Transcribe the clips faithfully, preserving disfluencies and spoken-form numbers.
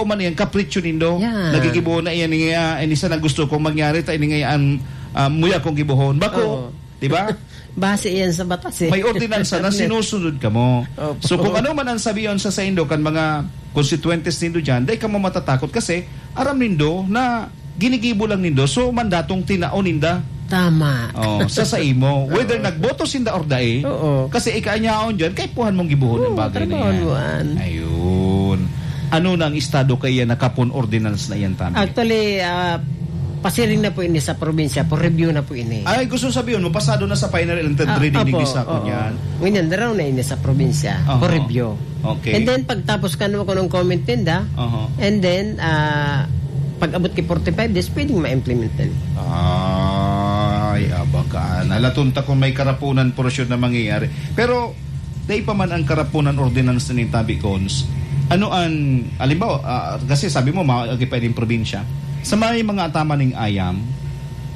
man yan, kapritsyo nindo. Yan. Nagigibohon na yan, ini, ah, ini sana gusto kong mangyari, ta ini nga yan, ah, muya kong gibohon. Bako, Oo. di ba? Base yan sa batas, eh. May ordinansa na sinusunod kamo. Opo. So, kung ano man ang sabiyon sa saindo kan mga konstituyentes nindo dyan, dai kamo matatakot kasi aram nindo na ginigibo lang nindo. So, mandatong tinao ninda. Tama. Oh, sa saimo. Whether Oo. nagboto sinda or dai, Oo. kasi ikaanyaon dyan, kaipuhan mong gibuhon ang Oo, bagay na trabaho yan. mo, an. Ayun. Ano na ang estado kaya na kapon ordinance na yan, Tabi? Actually, ah, pasiring na po ini sa probinsya, for review na po ini. Ay, gusto sabihin mo, pasado na sa final and third Ah, reading ni opo, Gisako oo. niyan. Ngunyan, daraw na ini sa probinsya, Aha. for review. Okay. And then, pagtapos ka naman kung anong comment ninda, Aha. and then, ah, pag-abot ki forty-five days, pwedeng ma-implement din. Ay, abakan. Alaton ta kung may karapunan portion na mangyayari. Pero, dai pa man ang karapunan ordinance na nin Tabi Cons. Ano ang, halimbawa, ah, kasi sabi mo, maagi pa ining probinsya. Sa may mga ataman ning ayam,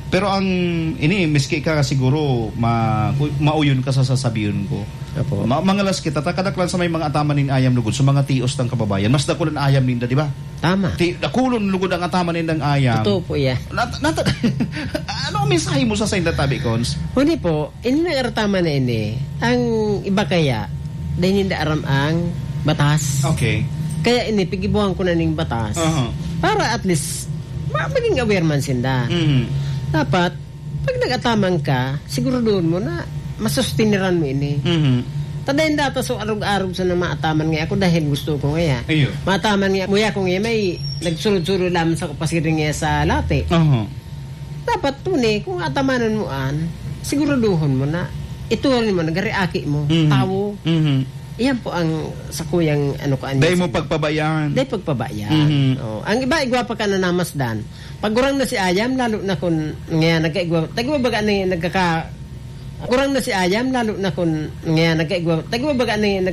pero ang, ini, miski ka siguro, ma-, mauyon ka sa sasabihin ko. Opo. Ma-, mangalas kita, ta kadaklan sa may mga ataman nin ayam lugod, sa mga tios ng kababayan, mas dakul ang ayam ninda, di ba? Tama. Ti-, dakulon lugod ang ataman nindang ayam. Totoo po yan. Nat-, nat-, ano ang mensahe mo sa sainda, Tabi Cons? Huni po, ini nang arataman na ini, ang iba kaya, dai ninda aram ang batas. Okay. Kaya ini, pigibuhan ko na ning batas. Aha. Para at least, ma-, maging aware man sinda. Mhm. Dapat, pag nag-ataman ka, siguraduhon mo na masustiniran mo ini. Mhm. Ta dai dapat so arog-arog sa nang maataman nga ako dahil gusto ko nga. Iyo. Maataman nga, muya ko nga may nagsurod-surod lamang sa pasiring nga sa lati. Aha. Dapat tuni, kung atamanan mo an, siguraduhon mo na ituring mo, nagariaki mo, Mhm. tawo. Mhm. Iyan po ang sakuyang ano ko, ano Dai mo sa pagpabayaan. Dai pagpabayaan. Mhm. Oh, ang iba, igwa pa ka na namasdan. Pag gurang na si ayam, lalo na kun ngayon, nagkaigwa, tagwa baga na yung nagkaka-, gurang na si ayam, lalo na kun ngayon, nagkaigwa, tagwa baga na yung